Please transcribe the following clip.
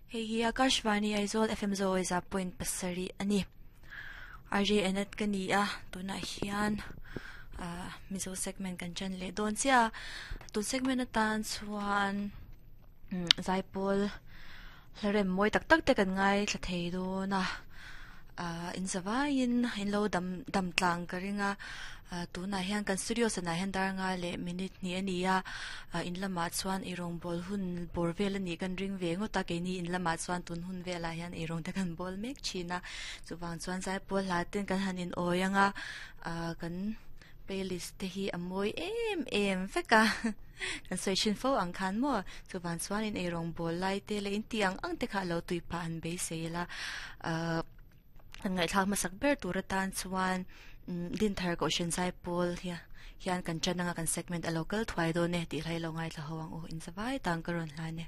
Hei hi Akashvani Aizawl FM Zawiza point pasarih a ni. RJ Anat ka ni a, tunah hian ah Mizo segment kan chan leh dawn chiah a. Tun segment atan chuan zaipawl hla rem mawi tak tak te kan ngaithla thei dawn a. Ah in zavaiin in lo dam dam tlang ka ring a. Ah tunah hian kan studio sanah hian dar nga leh minute hnih a ni a. Ah in lamah chuan eirawngbawl hun bawr vel a nih kan ring ve ngawt a keini in lamah chuan tun hun velah hian eirawng te kan bawl mek thin a chuvang chuan zaipawl hla ten kan han in awi ang a ah kan playlist te hi a mawi em em vek a kan sawi thin fo ang khan maw chuvang chuan in eirawngbawl lai te leh in tih ang ang te kha a lo tui phah han beisei ila ah. Kan ngaihthlak hmasak ber tur atan chuan Dinthar Kohhran Zaipawl hian kan ṭan anga kan segment a lo kal thuai dawn e tih hlai lo ngaithla ho ang u. Inzavai tang ka rawn hlan e.